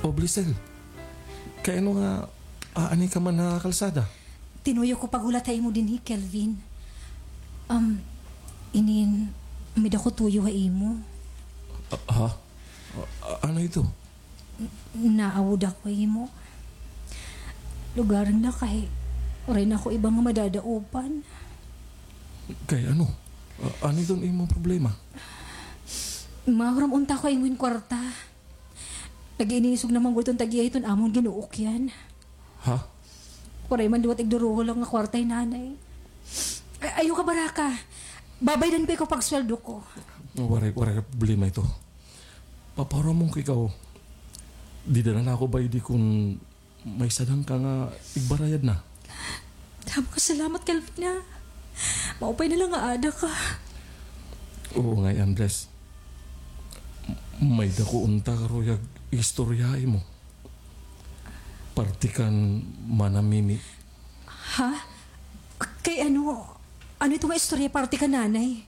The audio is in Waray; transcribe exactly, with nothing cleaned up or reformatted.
O, Blessel, kay ano nga aani ka man ha kalsada? Tinuyo ko paghulat ha imo dinhi, Kelvin. Um, inin, may-ada ko tuyo ha imo. Ah, ha? Ah, ano ito? N-, naawod ako ha imo. Lugaran na kay waray na ako iba nga madadaopan. Kay ano? Ah, ano iton imong problema? Mahuram unta ko ha imo hin kwarta. Nag-iinisog na man gud iton tag-iya hiton amon ginuukyan. Ha? Waray man liwat igduruhol nga kwarta hi Nanay. Ay, ayaw kabaraka. Babaydan ko ikaw pagsweldo ko. Waray, waray problema ito. Papahuramon ko ikaw. Dida na la ako baydi kon may sadang ka nga igbarayad na. Damo nga salamat, Kelvin, ha. Maupay na la nga aada ka. Oo ngay-an, Bless. May-ada ko unta karuyag istorya ha imo. Parte kan Mana Mimi. Ha? K-, kay ano? Ano ito nga istorya parte kan Nanay?